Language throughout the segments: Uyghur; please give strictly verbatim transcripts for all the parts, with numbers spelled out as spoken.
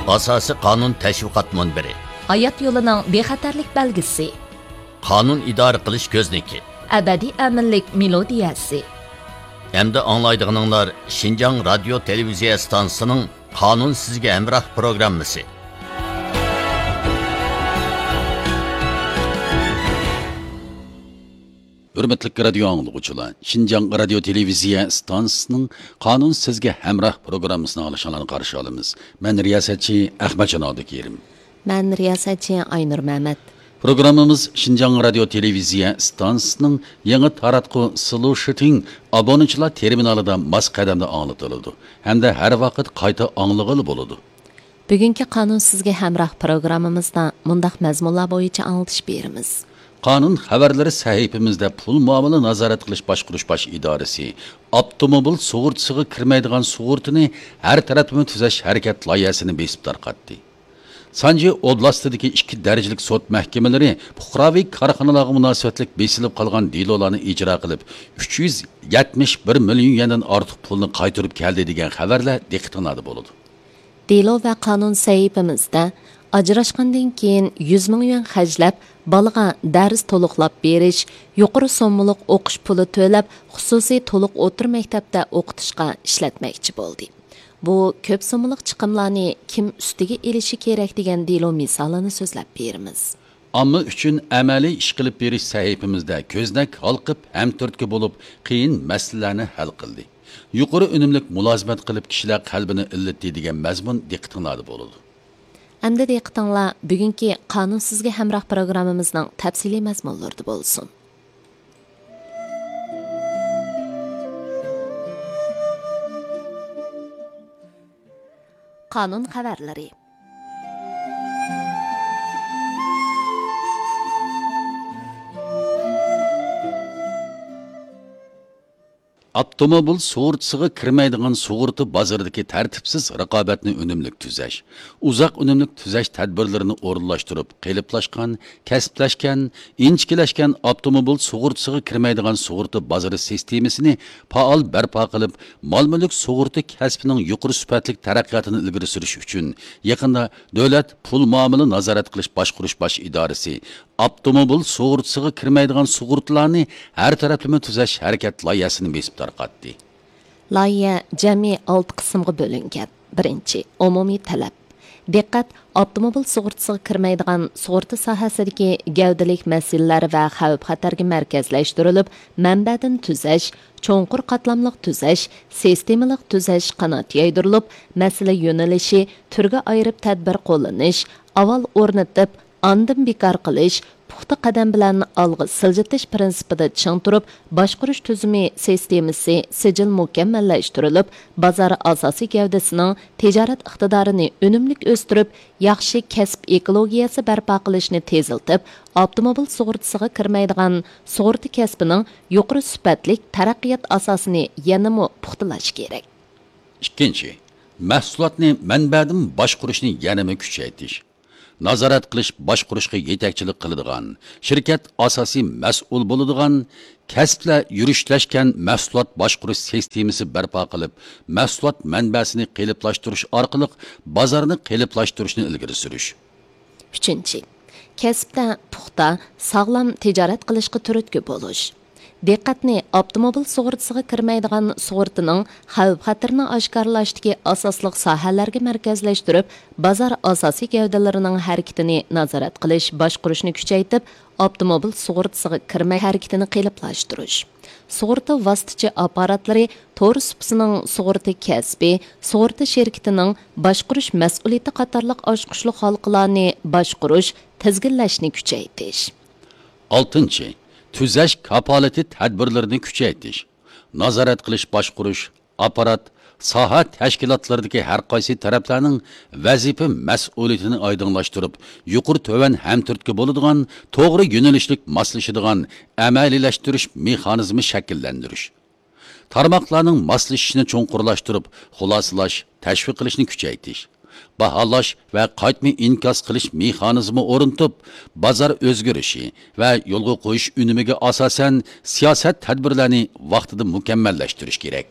ئاساسىي قانۇن تەشۋىقات مۇنبىرى. ھايات يولىنىڭ بىخەتەرلىك بەلگىسى. قانۇن ئىدارە قىلىش كۆزنىكى. ئەبەدىي ئەمىنلىك مېلودىيەسى. ئەمدى ئاڭلايدىغىنىڭلار شىنجاڭ رادىيو تېلېۋىزىيە ئىستانسىسىنىڭ قانۇن سىزگە ھەمراھ پروگراممىسى. ھۆرمەتلىك رادىيو ئاڭلىغۇچىلار، شىنجاڭ رادىيو تېلېۋىزىيە ئىستانسىسىنىڭ قانۇن سىزگە ھەمراھ پروگراممىسىنى ئاڭلىشىڭلارنى قارشى ئالىمىز. مەن رىياسەتچى ئەخمەتجان ئابدۇكېرىم. مەن رىياسەتچى ئاينۇر مەمەت. پروگراممىمىز شىنجاڭ رادىيو تېلېۋىزىيە ئىستانسىسىنىڭ يېڭى تاراتقۇ سلوشىتىڭ ئابۇنىچىلار تېرمىنالىدا ماس قەدەمدە ئاڭلىتىلىدۇ ھەمدە ھەر ۋاقىت قايتا ئاڭلىغىلى بولىدۇ. بۈگۈنكى قانۇن سىزگە ھەمراھ پروگراممىمىزدا مۇنداق مەزمۇنلار بويىچە ئاڭلىتىش بېرىمىز. قانۇن خەۋەرلىرى سەھىپىمىزدە پۇل مۇئامىلە نازارەت قىلىش باشقۇرۇش باش ئىدارىسى ئاپتوموبىل سۇغۇرتىسىغا كىرمەيدىغان سۇغۇرتىنى ھەر تەرەپلىمە تۈزەش ھەرىكەت لايىھەسىنى بېسىپ تارقاتتى. سانجى ئوبلاستىدىكى ئىككى دەرىجىلىك سوت مەھكىمىلىرى پۇقراۋى كارخانىلارغا مۇناسىۋەتلىك بېسىلىپ قالغان دېلولارنى ئىجرا قىلىپ، ئۈچ يۈز يەتمىش بىر مىليون يەندىن ئارتۇق پۇلنى قايتۇرۇپ كەلدى دېگەن خەۋەرلەر دىققىتىڭلاردا بولىدۇ. دېلو ۋە قانۇن سەھىپىمىزدە ئاجراشقاندىن كېيىن يۈز مىڭ يۈەن خەجلەپ، بالىغا دەرس تولۇقلاپ بېرىش، يۇقىرى سوممىلىق ئوقۇش پۇلى تۆلەپ، خۇسۇسىي تولۇق ئوتتۇرا مەكتەپتە ئوقۇتۇشقا ئىشلەتمەكچى بولدى. بۇ كۆپ سوممىلىق چىقىملارنى كىم ئۈستىگە ئېلىشى كېرەك دېگەن دېلو مىسالىنى سۆزلەپ بېرىمىز. ئامما ئۈچۈن ئەمەلىي ئىش قىلىپ بېرىش سەھىپىمىزدە كۆزنەك ھالقىپ، ھەمتۈرتكە بولۇپ، قىيىن مەسىلىلەرنى ھەل قىلدى. يۇقىرى ئۈنۈملۈك مۇلازىمەت قىلىپ، كىشىلەر قەلبىنى ئىللىتتى دېگەن مەزمۇن دىققىتىڭلاردا بولىدۇ. ئەمدى دىققىتىڭلار بۈگۈنكى قانۇن سىزگە ھەمراھ پروگراممىمىزنىڭ تەپسىلىي مەزمۇنلىرىدا بولسۇن. قانۇن خەۋەرلىرى. ئاپتوموبىل سۇغۇرتىسىغا كىرمەيدىغان سۇغۇرتا بازىرىدىكى تەرتىپسىز رىقابەتنى ئۈنۈملۈك تۈزەش، ئۇزاق ئۈنۈملۈك تۈزەش تەدبىرلىرىنى ئورۇنلاشتۇرۇپ، قېلىپلاشقان، كەسىپلەشكەن، ئىنچىكىلەشكەن ئاپتوموبىل سۇغۇرتىسىغا كىرمەيدىغان سۇغۇرتا بازىرى سىستېمىسىنى پائال بەرپا قىلىپ، مال-مۈلۈك سۇغۇرتا كەسپىنىڭ يۇقىرى سۈپەتلىك تەرەققىياتىنى ئىلگىرى سۈرۈش ئۈچۈن، يېقىندا دۆلەت پۇل مۇئامىلە نازارەت قىلىش باشقۇرۇش باش ئىدارىسى ئاپتوموبىل سۇغۇرتىسىغا كىرمەيدىغان سۇغۇرتىلارنى ھەر تەرەپلىمە تۈزەش ھەرىكەت لايىھەسىنى بېسىپ تارقاتتى. لايىھە جەمئىي ئالتە قىسىمغا بۆلۈنگەن. بىرىنچى، ئومۇمىي تەلەپ. دىققەت، ئاپتوموبىل سۇغۇرتىسىغا كىرمەيدىغان سۇغۇرتا ساھەسىدىكى گەۋدىلىك مەسىلىلەر ۋە خەۋپ-خەتەرگە مەركەزلەشتۈرۈلۈپ، مەنبەدىن تۈزەش، چوڭقۇر قاتلاملىق تۈزەش، سىستېمىلىق تۈزەش قانات يايدۇرۇلۇپ، مەسىلە يۆنىلىشى، تۈرگە ئايرىپ تەدبىر قوللىنىش، ئاۋۋال ئورنىتىپ، ئاندىن بىكار قىلىش، پۇختا قەدەم بىلەن ئالغا سىلجىتىش پىرىنسىپىدا چىڭ تۇرۇپ، باشقۇرۇش تۈزۈمى سىستېمىسى، سىجىل مۇكەممەللەشتۈرۈلۈپ، بازار ئاساسىي گەۋدىسىنىڭ تىجارەت ئىقتىدارىنى ئۈنۈملۈك ئۆستۈرۈپ، ياخشى كەسىپ ئېكولوگىيەسى بەرپا قىلىشنى تېزلىتىپ، ئاپتوموبىل سۇغۇرتىسىغا كىرمەيدىغان سۇغۇرتا كەسپىنىڭ يۇقىرى سۈپەتلىك تەرەققىيات ئاساسىنى يەنىمۇ پۇختىلاش كېرەك. ئىككىنچى، مەھسۇلاتنى مەنبەدىن باشقۇرۇشنى يەنىمۇ كۈچەيتىش. نازارەت قىلىش، باشقۇرۇشقا يېتەكچىلىك قىلىدىغان، شىركەت ئاساسىي مەسئۇل بولىدىغان، كەسىپلەر يۈرۈشلەشكەن مەھسۇلات باشقۇرۇش سىستېمىسى بەرپا قىلىپ، مەھسۇلات مەنبەسىنى قېلىپلاشتۇرۇش ئارقىلىق بازارنى قېلىپلاشتۇرۇشنى ئىلگىرى سۈرۈش. ئۈچىنچى، كەسىپتە پۇختا، ساغلام تىجارەت قىلىشقا تۈرتكە بولۇش. دىققەتنى ئاپتوموبىل سۇغۇرتىسىغا كىرمەيدىغان سۇغۇرتىنىڭ خەۋپ-خەتىرىنى ئاشكارىلاشتىكى ئاساسلىق ساھەلەرگە مەركەزلەشتۈرۈپ، بازار ئاساسىي گەۋدىلىرىنىڭ ھەرىكىتىنى نازارەت قىلىش، باشقۇرۇشنى كۈچەيتىپ، ئاپتوموبىل سۇغۇرتىسىغا كىرمەي ھەرىكىتىنى قېلىپلاشتۇرۇش. سۇغۇرتا ۋاسىتىچى ئاپپاراتلىرى، تور سۇپىسىنىڭ سۇغۇرتا كەسپى، سۇغۇرتا شىركىتىنىڭ باشقۇرۇش مەسئۇلىيىتى قاتارلىق ئاچقۇچلۇق ھالقىلارنى باشقۇرۇش، تىزگىنلەشنى كۈچەيتىش. ئالتىنچى، تۈزەش كاپالىتى تەدبىرلىرىنى كۈچەيتىش، نازارەت قىلىش، باشقۇرۇش، ئاپپارات، ساھە تەشكىلاتلىرىدىكى ھەر قايسى تەرەپلەرنىڭ ۋەزىپە مەسئۇلىيىتىنى ئايدىڭلاشتۇرۇپ، يۇقىرى تۆۋەن ھەمتۈرتكە بولىدىغان، توغرا يۆنىلىشلىك ماسلىشىدىغان ئەمەلىيلەشتۈرۈش مېخانىزمى شەكىللەندۈرۈش. تارماقلارنىڭ ماسلىشىشىنى چوڭقۇرلاشتۇرۇپ، خۇلاسىلاش، تەشۋىق قىلىشنى كۈچەيتىش. باھالاش ۋە قايتما ئىنكاس قىلىش مېخانىزمى ئورنىتىپ، بازار ئۆزگىرىشى ۋە يولغا قويۇش ئۈنۈمىگە ئاساسەن سىياسەت تەدبىرلەرنى ۋاقتىدا مۇكەممەللەشتۈرۈش كېرەك.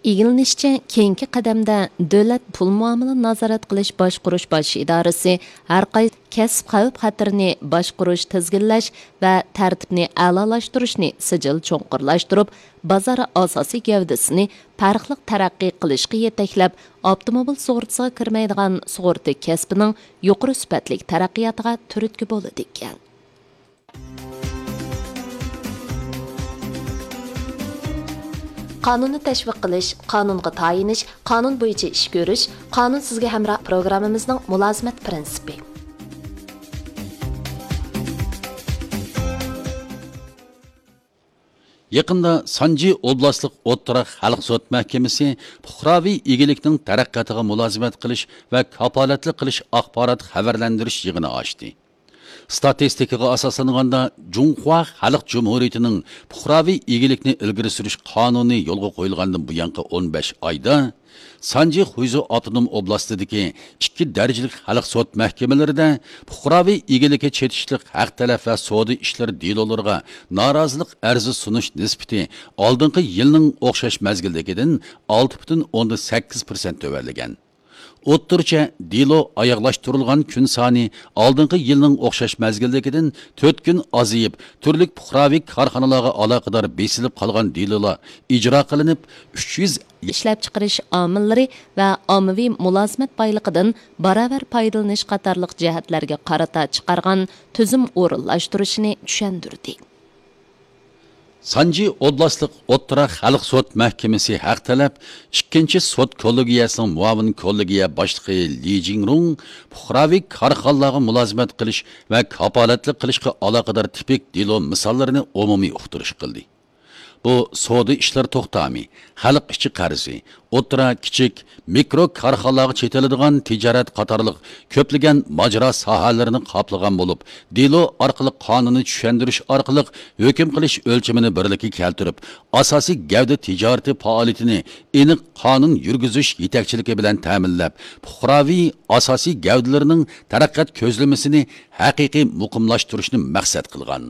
ئىگىلىنىشىچە، كېيىنكى قەدەمدە دۆلەت پۇل مۇئامىلە نازارەت قىلىش باشقۇرۇش باش ئىدارىسى ھەر قايسى كەسىپ خەۋپ خەتىرىنى باشقۇرۇش، تىزگىنلەش ۋە تەرتىپنى ئەلالاشتۇرۇشنى سىجىل چوڭقۇرلاشتۇرۇپ، بازار ئاساسىي گەۋدىسىنى پەرقلىق تەرەققىي قىلىشقا يېتەكلەپ، ئاپتوموبىل سۇغۇرتىسىغا كىرمەيدىغان سۇغۇرتا كەسپىنىڭ يۇقىرى سۈپەتلىك تەرەققىياتىغا تۈرتكە بولىدىكەن. قانۇننى تەشۋىق قىلىش، قانۇنغا تايىنىش، قانۇن بويىچە ئىش كۆرۈش، قانۇن سىزگە ھەمراھ پروگراممىمىزنىڭ مۇلازىمەت پىرىنسىپى. يېقىندا سانجى ئوبلاستلىق ئوتتۇرا خەلق سوت مەھكىمىسى پۇقراۋى ئىگىلىكنىڭ تەرەققىياتىغا مۇلازىمەت قىلىش ۋە كاپالەتلىك قىلىش ئاخبارات خەۋەرلەندۈرۈش يىغىنى ئاچتى. ستاتىستىكىغا ئاساسلانغاندا، جۇڭخۇا خەلق جۇمھۇرىيىتىنىڭ پۇقراۋى ئىگىلىكنى ئىلگىرى سۈرۈش قانۇنى يولغا قويۇلغاندىن بۇيانقى ئون بەش ئايدا، سانجى خۇيزۇ ئاپتونوم ئوبلاستىدىكى ئىككى دەرىجىلىك خەلق سوت مەھكىمىلىرىدە پۇقراۋى ئىگىلىكى چېتىشلىق ھەق تەلەپ ۋە سودا ئىشلىرى دېلولىرىغا نارازىلىق ئەرزى سۇنۇش نىسبىتى ئالدىنقى يىلنىڭ ئوخشاش مەزگىلدىكىدىن ئالتە پۈتۈن ئوندىن سەككىز پىرسەنت تۆۋەنلىگەن. ئوتتۇرىچە دېلو ئاياغلاشتۇرۇلغان كۈن سانى ئالدىنقى يىلنىڭ ئوخشاش مەزگىلدىكىدىن تۆت كۈن ئازىيىپ، تۈرلۈك پۇقراۋى كارخانىلارغا ئالاقىدار بېسىلىپ قالغان دېلولار ئىجرا قىلىنىپ، ئۈچ يۈز ئىشلەپچىقىرىش ئامىللىرى ۋە ئاممىۋى مۇلازىمەت بايلىقىدىن باراۋەر پايدىلىنىش قاتارلىق جەھەتلەرگە قارىتا چىقارغان تۈزۈم ئورۇنلاشتۇرۇشىنى چۈشەندۈردى. سانجى ئوبلاستلىق ئوتتۇرا خەلق سوت مەھكىمىسى ھەق تەلەپ ئىككىنچى سوت كوللېگىيەسىنىڭ مۇئاۋىن كوللېگىيە باشلىقى لى جىڭرۇڭ پۇقراۋى كارخانىلارغا مۇلازىمەت قىلىش ۋە كاپالەتلىك قىلىشقا ئالاقىدار تىپىك دېلو مىساللىرىنى ئومۇمىي ئۇقتۇرۇش قىلدى. بۇ سودا ئىشلىرى توختامى، خەلق ئىچى قەرزى، ئوتتۇرا، كىچىك، مىكرو كارخانىلارغا چېتىلىدىغان تىجارەت قاتارلىق كۆپلىگەن ماجىرا ساھەلىرىنى قاپلىغان بولۇپ، دېلو ئارقىلىق قانۇننى چۈشەندۈرۈش ئارقىلىق ھۆكۈم قىلىش ئۆلچىمىنى بىرلىككە كەلتۈرۈپ، ئاساسىي گەۋدە تىجارىتى پائالىيىتىنى ئېنىق قانۇن يۈرگۈزۈش يېتەكچىلىكى بىلەن تەمىنلەپ، پۇقراۋى ئاساسىي گەۋدىلىرىنىڭ تەرەققىيات كۆزلىمىسىنى ھەقىقىي مۇقىملاشتۇرۇشنى مەقسەت قىلغان.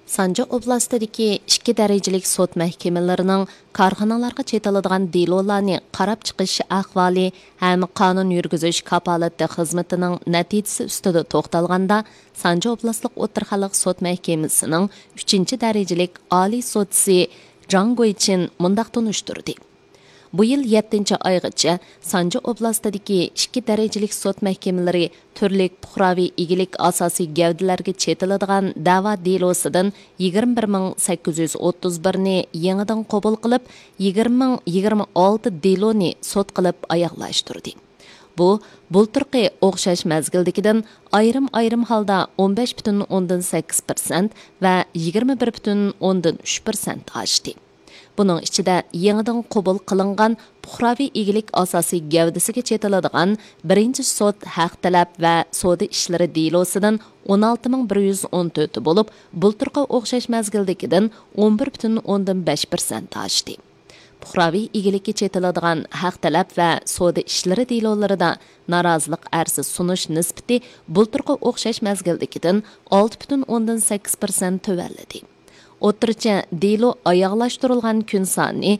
سانجى ئوبلاستىدىكى ئىككى دەرىجىلىك سوت مەھكىمىلىرىنىڭ كارخانىلارغا چېتىلىدىغان دېلولارنى قاراپ چىقىش ئەھۋالى ھەم قانۇن يۈرگۈزۈش كاپالىتى خىزمىتىنىڭ نەتىجىسى ئۈستىدە توختالغاندا، سانجى ئوبلاستلىق ئوتتۇرا خەلق سوت مەھكىمىسىنىڭ ئۈچىنچى دەرىجىلىك ئالىي سوتچىسى جاڭ گۇيچىن مۇنداق تونۇشتۇردى. بۇ يىل يەتتىنچى ئايغىچە سانجى ئوبلاستىدىكى ئىككى دەرىجىلىك سوت مەھكىمىلىرى تۈرلۈك پۇقراۋى ئىگىلىك ئاساسىي گەۋدىلەرگە چېتىلىدىغان دەۋا دېلوسىدىن يىگىرمە بىر مىڭ سەككىز يۈز ئوتتۇز بىرنى يېڭىدىن قوبۇل قىلىپ، يىگىرمە مىڭ يىگىرمە ئالتە دېلونى سوت قىلىپ ئاياغلاشتۇردى. بۇ، بۇلتۇرقى ئوخشاش مەزگىلدىكىدىن ئايرىم-ئايرىم ھالدا ئون بەش پۈتۈن ئوندىن سەككىز پىرسەنت ۋە يىگىرمە بىر پۈتۈن ئوندىن ئۈچ پىرسەنت ئاشتى. بۇنىڭ ئىچىدە يېڭىدىن قوبۇل قىلىنغان پۇقراۋى ئىگىلىك ئاساسىي گەۋدىسىگە چېتىلىدىغان بىرىنچى سوت ھەق تەلەپ ۋە سودا ئىشلىرى دېلوسىدىن ئون ئالتە مىڭ بىر يۈز ئون تۆتى بولۇپ، بۇلتۇرقى ئوخشاش مەزگىلدىكىدىن ئون بىر پۈتۈن ئوندىن بەش پىرسەنت ئاشتى. پۇقراۋى ئىگىلىككە چېتىلىدىغان ھەق تەلەپ ۋە سودا ئىشلىرى دېلولىرىدا نارازىلىق ئەرزى سۇنۇش نىسبىتى بۇلتۇرقى ئوخشاش مەزگىلدىكىدىن ئالتە پۈتۈن ئوندىن سەككىز پىرسەنت تۆۋەنلىدى. ئوتتۇرىچە دېلو ئاياغلاشتۇرۇلغان كۈن سانى